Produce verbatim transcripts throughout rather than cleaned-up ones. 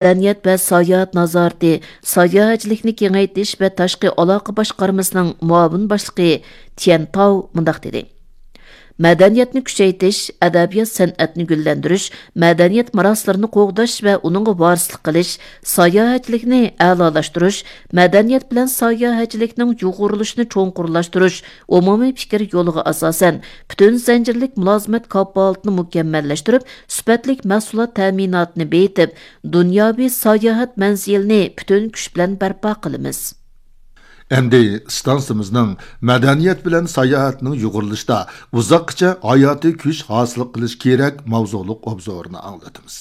مەدەنىيەت ۋە ساياھەت نازارىتى، ساياھەتچىلىكنى كېڭەيتىش ۋە تاشقى ئالاقە باشقارمىسىنىڭ مۇئاۋىن باشلىقى تيەن تاۋ مۇنداق دېدى: مەدەنىيەتنى كۈچەيتىش، ئەدەبىيات-سەنئەتنى گۈللەندۈرۈش، مەدەنىيەت مىراسلىرىنى قوغداش ۋە ئۇنىڭغا ۋارىسلىق قىلىش، ساياھەتچىلىكنى ئەلالاشتۇرۇش، مەدەنىيەت بىلەن ساياھەتچىلىكنىڭ يۇغۇرۇلۇشىنى چوڭقۇرلاشتۇرۇش، ئومۇمىي پىكىر يولىغا ئاساسەن، پۈتۈن زەنجىرلىك مۇلازىمەت كاپالىتىنى مۇكەممەللەشتۈرۈپ، سۈپەتلىك مەھسۇلات تەمىناتىنى بېيىتىپ، دۇنياۋى ساياھەت مەنزىلىنى پۈتۈن كۈچ بىلەن بەرپا قىلىمىز. ئەمدى ئىستانسىمىزنىڭ مەدەنىيەت بىلەن ساياھەتنىڭ يۇغۇرۇلۇشىدا ئۇزاققىچە ھاياتىي كۈچ ھاسىل قىلىش كېرەك ماۋزۇلۇق ئوبزورىنى ئاڭلىتىمىز.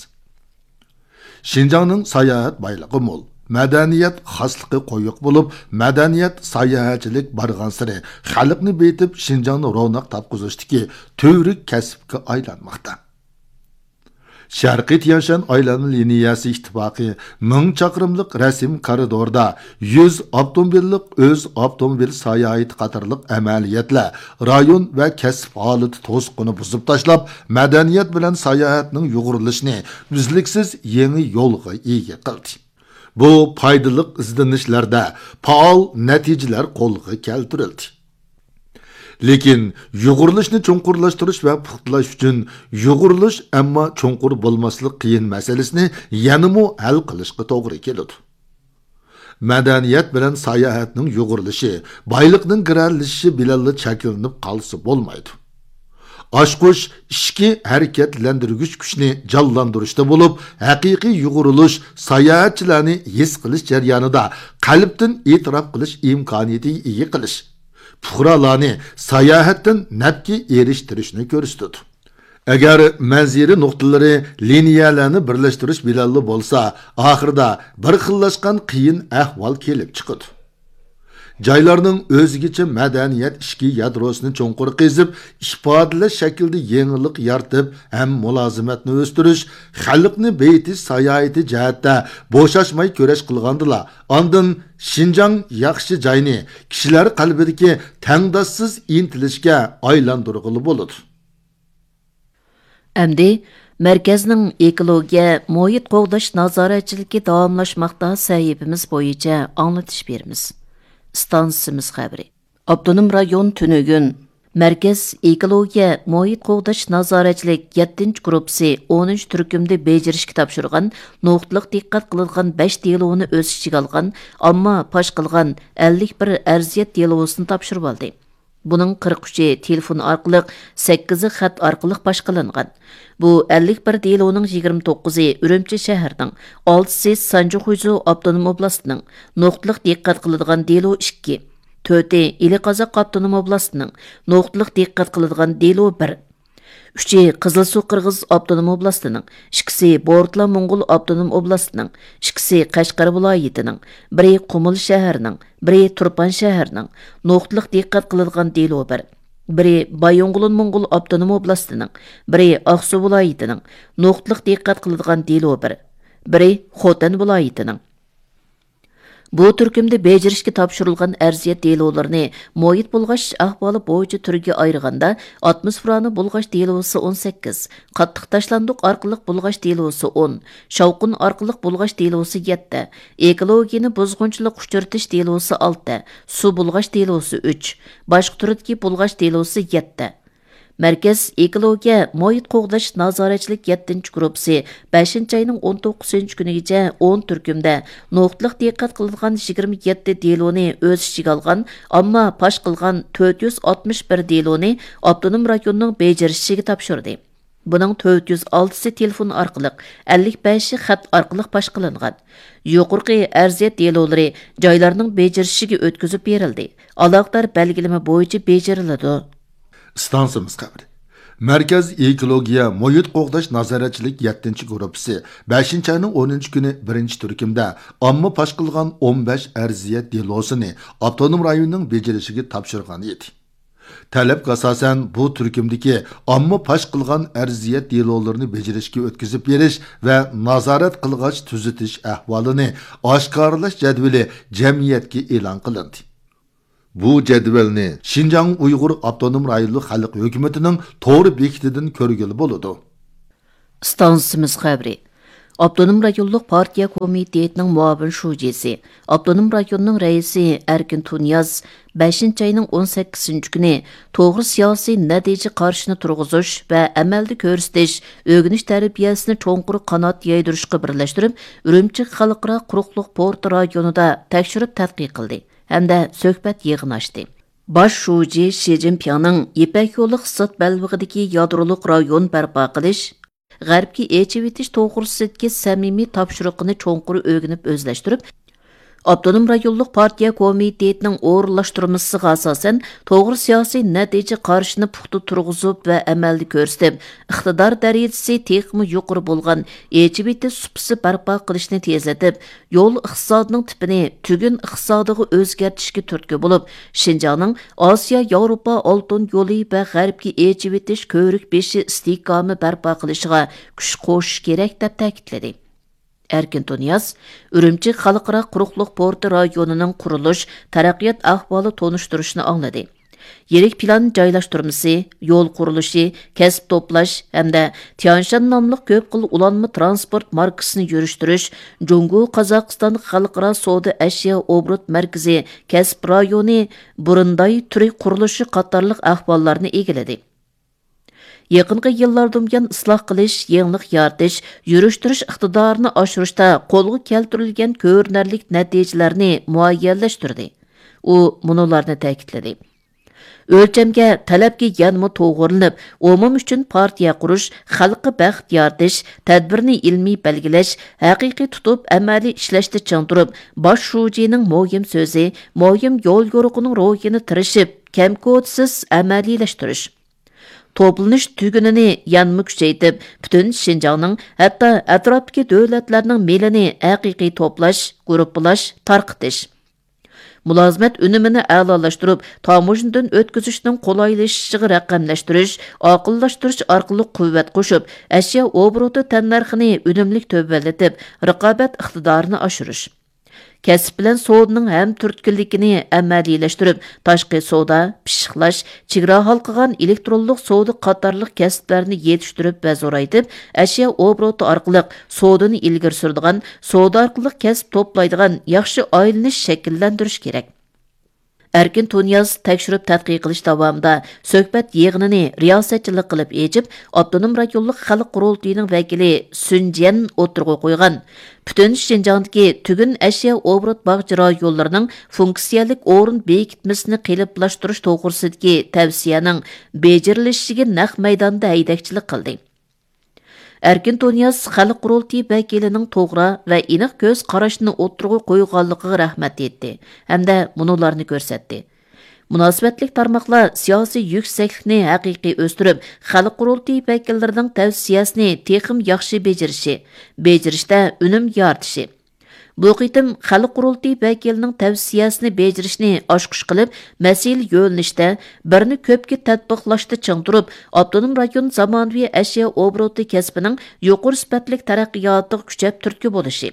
شىنجاڭنىڭ ساياھەت بايلىقى مول، مەدەنىيەت خاسلىقى قويۇق بولۇپ، مەدەنىيەت ساياھەتچىلىك بارغانسېرى خەلقنى بېيىتىپ، شىنجاڭنى روناق تاپقۇزۇشتىكى تۈۋرۈك كەسىپكە ئايلانماقتا. شەرقىي تيەنشان ئايلانما لىنىيەسى ئىتتىپاقى مىڭ چاقىرىملىق رەسىم كارىدوردا يۈز ئاپتوموبىللىق ئۆز ئاپتوموبىل ساياھىتى قاتارلىق ئەمەلىيەتلەر رايون ۋە كەسىپ ھالىتى توسۇقىنى بۇزۇپ تاشلاپ، مەدەنىيەت بىلەن ساياھەتنىڭ يۇغۇرۇلۇشىنى ئۈزلۈكسىز يېڭى يولغا ئىگە قىلدى. بۇ پايدىلىق ئىزدىنىشلەردە پائال نەتىجىلەر قولغا كەلتۈرۈلدى. لېكىن يۇغۇرۇلۇشنى چوڭقۇرلاشتۇرۇش ۋە پۇختىلاش ئۈچۈن يۇغۇرۇلۇش، ئەمما چوڭقۇر بولماسلىق قىيىن مەسىلىسىنى يەنىمۇ ھەل قىلىشقا توغرا كېلىدۇ. مەدەنىيەت بىلەن ساياھەتنىڭ يۇغۇرۇلۇشى بايلىقنىڭ گىرەلىشىشى بىلەنلا چەكلىنىپ قالسا بولمايدۇ. ئاچقۇچ ئىچكى ھەرىكەتلەندۈرگۈچ كۈچنى جانلاندۇرۇشتا بولۇپ، ھەقىقىي يۇغۇرۇلۇش ساياھەتچىلەرنى ھېس قىلىش جەريانىدا قەلبتىن ئېتىراپ قىلىش ئىمكانىيىتىگە ئىگە قىلىش، پۇقرالارنى ساياھەتتىن نەپكە ئېرىشتۈرۈشنى كۆرسىتىدۇ. ئەگەر مەنزىرە نۇقتىلىرى لىنىيەلەرنى بىرلەشتۈرۈش بىلەنلا بولسا، ئاخىرىدا بىر خىللاشقان قىيىن ئەھۋال كېلىپ چىقىدۇ. جايلارنىڭ ئۆزگىچە مەدەنىيەت ئىچكى يادروسىنى چوڭقۇر قېزىپ، ئىپادىلەش شەكلىدە يېڭىلىق يارىتىپ ھەم مۇلازىمەتنى ئۆستۈرۈش، خەلقنى بېيىتىش ساياھىتى جەھەتتە بوشاشماي كۈرەش قىلغاندىلا، ئاندىن شىنجاڭ ياخشى جاينى كىشىلەر قەلبىدىكى تەڭداشسىز ئىنتىلىشكە ئايلاندۇرغىلى بولىدۇ. ئەمدى مەركەزنىڭ ئېكولوگىيە، مۇھىت قوغداش نازارەتچىلىكى داۋاملاشماقتا سەھىپىمىز بويىچە ئاڭلىتىش بېرىمىز. ئىستانسىمىز خەۋىرى. ئاپتونوم رايون تۈنۈگۈن مەركەز ئېكولوگىيە، مۇھىت قوغداش نازارەتچىلىك يەتتىنچى گۇرۇپپىسى ئونىنچى تۈركۈمدە بېجىرىشكە تاپشۇرغان نۇقتىلىق دىققەت قىلىدىغان بەش دېلونى ئۆز ئىچىگە ئالغان ئامما پاش قىلغان ئەللىك بىر ئەرزىيەت دېلوسىنى تاپشۇرۇۋالدى. بۇنىڭ قىرىق ئۈچى تېلېفون ئارقىلىق، سەككىزى خەت ئارقىلىق باشقىلانغان. بۇ ئەللىك بىر دېلونىڭ يىگىرمە توققۇزى ئۈرۈمچى شەھىرىنىڭ، ئالتىسى سانجى خۇيزۇ ئاپتونوم ئوبلاستىنىڭ، نۇقتىلىق دىققەت قىلىدىغان دېلو ئىككى، تۆتى ئىلى قازاق ئاپتونوم ئوبلاستىنىڭ، نۇقتىلىق دىققەت قىلىدىغان دېلو بىر، ئۈچى قىزىلسۇ قىرغىز ئاپتونوم ئوبلاستىنىڭ، ئىككىسى بورتلا موڭغۇل ئاپتونوم ئوبلاستىنىڭ، ئىككىسى قەشقەر ۋىلايىتىنىڭ، بىرى قۇمۇل شەھىرىنىڭ، بىرى تۇرپان شەھىرىنىڭ، نۇقتىلىق دىققەت قىلىدىغان دېلو بىر، بىرى بايىنغولىن موڭغۇل ئاپتونوم ئوبلاستىنىڭ، بىرى ئاقسۇ ۋىلايىتىنىڭ، نۇقتىلىق دىققەت قىلىدىغان دېلو بىر، بىرى خوتەن ۋىلايىتىنىڭ. بۇ تۈركۈمدە بېجىرىشكە تاپشۇرۇلغان ئەرزىيەت دېلولىرىنى مۇھىت بۇلغاش ئەھۋالى بويىچە تۈرگە ئايرىغاندا، ئاتموسفېرانى بۇلغاش دېلوسى ئون سەككىز، قاتتىق تاشلاندۇق ئارقىلىق بۇلغاش دېلوسى ئون، شاۋقۇن ئارقىلىق بۇلغاش دېلوسى يەتتە، ئېكولوگىيەنى بۇزغۇنچىلىق ئۇچرىتىش دېلوسى ئالتە، سۇ بۇلغاش دېلوسى ئۈچ، باشقا تۈردىكى بۇلغاش دېلوسى يەتتە. مەركەز ئېكولوگىيە، مۇھىت قوغداش نازارەتچىلىك يەتتىنچى گۇرۇپپىسى بەشىنچى ئاينىڭ ئون توققۇزىنچى كۈنىگىچە ئون تۈركۈمدە نۇقتىلىق دىققەت قىلىدىغان يىگىرمە يەتتە دېلونى ئۆز ئىچىگە ئالغان، ئامما پاش قىلغان تۆت يۈز ئاتمىش بىر دېلونى ئاپتونوم رايوننىڭ بېجىرىشىگە تاپشۇردى. بۇنىڭ تۆت يۈز ئالتىسى تېلېفون ئارقىلىق، ئەللىك بەشى خەت ئارقىلىق باشقىلانغان. يۇقىرىقى ئەرزىيەت دېلولىرى جايلارنىڭ بېجىرىشىگە ئۆتكۈزۈپ بېرىلدى. ئالاقىدار بەلگىلىمە بويىچە بېجىرىلىدۇ. ئىستانسىمىز خەۋىرى. مەركەز ئېكولوگىيە، مۇھىت قوغداش نازارەتچىلىك يەتتىنچى گۇرۇپپىسى بەشىنچى ئاينىڭ ئونىنچى كۈنى بىرىنچى تۈركۈمدە ئامما پاش قىلغان ئون بەش ئەرزىيەت دېلوسىنى ئاپتونوم رايوننىڭ بېجىرىشىگە تاپشۇرغان ئىدى. تەلەپكە ئاساسەن، بۇ تۈركۈمدىكى ئامما پاش قىلغان ئەرزىيەت دېلولىرىنى بېجىرىشكە ئۆتكۈزۈپ بېرىش ۋە نازارەت قىلغاچ تۈزىتىش ئەھۋالىنى ئاشكارىلاش جەدۋىلى جەمئىيەتكە ئېلان قىلىندى. بۇ جەدۋەلنى شىنجاڭ ئۇيغۇر ئاپتونوم رايونلۇق خەلق ھۆكۈمىتىنىڭ تور بېكىتىدىن كۆرگىلى بولىدۇ. ئىستانسىمىز خەۋىرى. ئاپتونوم رايونلۇق پارتىيە كومىتېتىنىڭ مۇئاۋىن شۇجىسى، ئاپتونوم رايوننىڭ رەئىسى ئەركىن تۇنىياز بەشىنچى ئاينىڭ ئون سەككىزىنچى كۈنى توغرا سىياسىي نەتىجە قارىشىنى تۇرغۇزۇش ۋە ئەمەلدە كۆرسىتىش، ئۆگىنىش تەربىيەسىنى چوڭقۇر قانات يايدۇرۇشقا بىرلەشتۈرۈپ، ئۈرۈمچى خەلقئارا قۇرۇقلۇق پورتى رايونىدا تەكشۈرۈپ تەتقىق قىلدى ھەمدە سۆھبەت يىغىنى ئاچتى. باش شۇجى شى جىنپىڭنىڭ يىپەك يولى ئىقتىساد بەلبېغىدىكى يادرولۇق رايون بەرپا قىلىش، غەربكە ئېچىۋېتىش توغرىسىدىكى سەمىمىي تاپشۇرۇقىنى چوڭقۇر ئۆگىنىپ ئۆزلەشتۈرۈپ، ئاپتونوم رايونلۇق پارتىيە كومىتېتىنىڭ ئورۇنلاشتۇرمىسىغا ئاساسەن، توغرا سىياسىي نەتىجە قارىشىنى پۇختا تۇرغۇزۇپ ۋە ئەمەلدە كۆرسىتىپ، ئىقتىدار دەرىجىسى تېخىمۇ يۇقىرى بولغان ئېچىۋېتىش سۇپىسى بەرپا قىلىشنى تېزلىتىپ، يول ئىقتىسادىنىڭ تىپىنى تۈگۈن ئىقتىسادىغا ئۆزگەرتىشكە تۈرتكە بولۇپ، شىنجاڭنىڭ ئاسىيا ياۋروپا ئالتۇن يولى ۋە غەربكە ئېچىۋېتىش كۆۋرۈك بېشى ئىستىھكامى بەرپا قىلىشىغا كۈچ قوشۇش كېرەك، دەپ تەكىتلىدى. ئەركىن تۇنىياز ئۈرۈمچى خەلقئارا قۇرۇقلۇق پورتى رايونىنىڭ قۇرۇلۇش، تەرەققىيات ئەھۋالى تونۇشتۇرۇشىنى ئاڭلىدى. يىرىك پىلان جايلاشتۇرمىسى، يول قۇرۇلۇشى، كەسىپ توپلاش ھەمدە تيانشان ناملىق كۆپ خىل ئۇلانما ترانسپورت ماركىسىنى يۈرۈشتۈرۈش، جۇڭگو قازاقىستان خەلقئارا سودا ئەشيا ئوبوروت مەركىزى كەسىپ رايونى بۇرۇنداي تۈرى قۇرۇلۇشى قاتارلىق ئەھۋاللارنى ئىگىلىدى. يېقىنقى يىللاردىن بۇيان ئىسلاھ قىلىش، يېڭىلىق يارىتىش، يۈرۈشتۈرۈش ئىقتىدارىنى ئاشۇرۇشتا قولغا كەلتۈرۈلگەن كۆرۈنەرلىك نەتىجىلەرنى مۇئەييەنلەشتۈردى. ئۇ مۇنۇلارنى تەكىتلىدى. ئۆلچەمگە، تەلەپكە يەنىمۇ توغرىلىنىپ، ئومۇم ئۈچۈن پارتىيە قۇرۇش، خەلققە بەخت يارىتىش، تەدبىرنى ئىلمىي بەلگىلەش، ھەقىقىي تۇتۇپ، ئەمەلىي ئىشلەشتە چىڭ تۇرۇپ، باش شۇجىنىڭ مۇھىم سۆزى، مۇھىم يول يورۇقىنىڭ روھىنى تىرىشىپ، كەم-كوتىسىز ئەمەلىيلەشتۈرۈش. توپلىنىش تۈگۈنىنى يەنىمۇ كۈچەيتىپ، پۈتۈن شىنجاڭنىڭ، ھەتتا ئەتراپتىكى دۆلەتلەرنىڭ مېلىنى ھەقىقىي توپلاش، گۇرۇپپىلاش، تارقىتىش. مۇلازىمەت ئۈنۈمىنى ئەلالاشتۇرۇپ، تاموژنىدىن ئۆتكۈزۈشنىڭ قولايلىشىشىغا رەقەملەشتۈرۈش، ئاقىللاشتۇرۇش ئارقىلىق قۇۋۋەت قوشۇپ، ئەشيا ئوبوروتى تەننەرخىنى ئۈنۈملۈك تۆۋەنلىتىپ، رىقابەت ئىقتىدارىنى ئاشۇرۇش. كەسىپ بىلەن سودىنىڭ ھەم تۈرتكىلىكىنى ئەمەلىيلەشتۈرۈپ، تاشقى سودا، پىششىقلاش، چېگرا ھالقىغان ئېلېكترونلۇق سودا قاتارلىق كەسىپلەرنى يېتىشتۈرۈپ ۋە زورايتىپ، ئەشيا ئوبوروتى ئارقىلىق سودىنى ئىلگىرى سۈرىدىغان، سودا ئارقىلىق كەسىپ توپلايدىغان ياخشى ئايلىنىش شەكىللەندۈرۈش كېرەك. ئەركىن تۇنىياز تەكشۈرۈپ تەتقىق قىلىش داۋامىدا سۆھبەت يىغىنىنى رىياسەتچىلىك قىلىپ ئېچىپ، ئاپتونوم رايونلۇق خەلق قۇرۇلتىيىنىڭ ۋەكىلى سۈن جيەن ئوتتۇرىغا قويغان پۈتۈن شىنجاڭدىكى تۈگۈن ئەشيا ئوبوروت باغچە رايونلىرىنىڭ فۇنكسىيەلىك ئورۇن بېكىتمىسىنى قېلىپلاشتۇرۇش توغرىسىدىكى تەۋسىيەنىڭ بېجىرىلىشىگە نەق مەيداندا ھەيدەكچىلىك قىلدى. ئەركىن تۇنىياز خەلق قۇرۇلتىيى ۋەكىلىنىڭ توغرا ۋە ئېنىق كۆز قاراشنى ئوتتۇرىغا قويغانلىقىغا رەھمەت ئېيتتى ھەمدە مۇنۇلارنى كۆرسەتتى. مۇناسىۋەتلىك تارماقلار سىياسىي يۈكسەكلىكنى ھەقىقىي ئۆستۈرۈپ، خەلق قۇرۇلتىيى ۋەكىللىرىنىڭ تەۋسىيەسىنى تېخىمۇ ياخشى بېجىرىشى، بېجىرىشتە ئۈنۈم يارىتىشى، بۇ قېتىم خەلق قۇرۇلتىيى ۋەكىلىنىڭ تەۋسىيەسىنى بېجىرىشنى ئاچقۇچ قىلىپ، مەسىلە يۆنىلىشتە، بىرنى كۆپكە تەتبىقلاشتا چىڭ تۇرۇپ، ئاپتونوم رايون زامانىۋى ئەشيا ئوبوروتى كەسپىنىڭ يۇقىرى سۈپەتلىك تەرەققىياتىغا كۈچەپ تۈرتكە بولۇشى،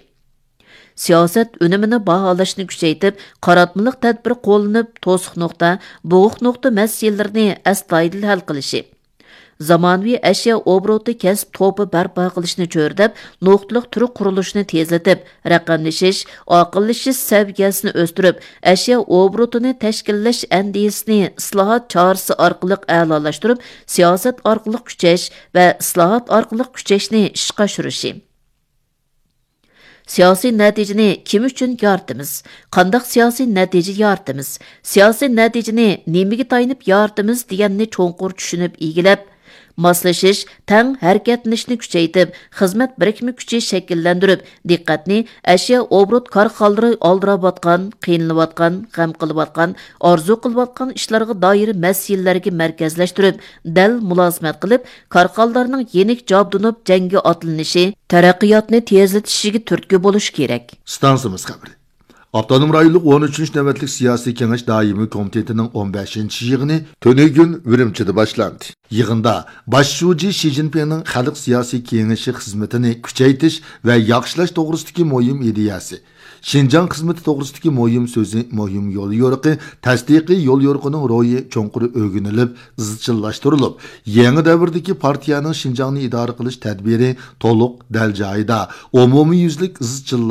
سىياسەت ئۈنۈمىنى باھالاشنى كۈچەيتىپ، قاراتمىلىق تەدبىر قوللىنىپ، توسۇق نۇقتا، بوغۇق نۇقتا مەسىلىلىرىنى ئەستايىدىل ھەل قىلىشى، زامانىۋى ئەشيا ئوبوروتى كەسىپ توپى بەرپا قىلىشنى چۆرىدەپ، نۇقتىلىق تۈر قۇرۇلۇشىنى تېزلىتىپ، رەقەملىشىش، ئاقىللىشىش سەۋىيەسىنى ئۆستۈرۈپ، ئەشيا ئوبوروتىنى تەشكىللەش ئەندىزىسىنى ئىسلاھات چارىسى ئارقىلىق ئەلالاشتۇرۇپ، سىياسەت ئارقىلىق كۈچەش ۋە ئىسلاھات ئارقىلىق كۈچەشنى ئىشقا ئاشۇرۇشى. سىياسىي نەتىجىنى كىم ئۈچۈن يارىتىمىز؟ قانداق سىياسىي نەتىجە يارىتىمىز؟ سىياسىي نەتىجىنى نېمىگە تايىنىپ يارىتىمىز دېگەننى چوڭقۇر چۈشىنىپ ئىگىلەپ، ماسلىشىش، تەڭ ھەرىكەتلىنىشنى كۈچەيتىپ، خىزمەت بىرىكمە كۈچى شەكىللەندۈرۈپ، دىققەتنى ئەشيا ئوبوروت كارخانىلىرى ئالدىراۋاتقان، قىينىلىۋاتقان، غەم قىلىۋاتقان، ئارزۇ قىلىۋاتقان ئىشلارغا دائىر مەسىلىلەرگە مەركەزلەشتۈرۈپ، دەل مۇلازىمەت قىلىپ، كارخانىلارنىڭ يېنىك جابدۇنۇپ جەڭگە ئاتلىنىشى، تەرەققىياتنى تېزلىتىشىگە تۈرتكە بولۇش كېرەك. ئىستانسىمىز خەۋىرى. ئاپتونوم رايونلۇق ئون ئۈچىنچى نۆۋەتلىك سىياسىي كېڭەش دائىمىي كومىتېتىنىڭ ئون بەشىنچى يىغىنى تۈنۈگۈن ئۈرۈمچىدە باشلاندى. يىغىندا باش شۇجى شى جىنپىڭنىڭ خەلق سىياسىي كېڭىشى خىزمىتىنى كۈچەيتىش ۋە ياخشىلاش توغرىسىدىكى مۇھىم ئىدىيەسى، شىنجاڭ خىزمىتى توغرىسىدىكى مۇھىم سۆزى، مۇھىم يوليورۇقى، تەستىقىي يوليورۇقىنىڭ روھى چوڭقۇر ئۆگىنىلىپ، ئىزچىللاشتۇرۇلۇپ، يېڭى دەۋردىكى پارتىيەنىڭ شىنجاڭنى ئىدارە قىلىش تەدبىرى تولۇق، دەل جايىدا، ئومۇميۈزلۈك ئىزچىللاش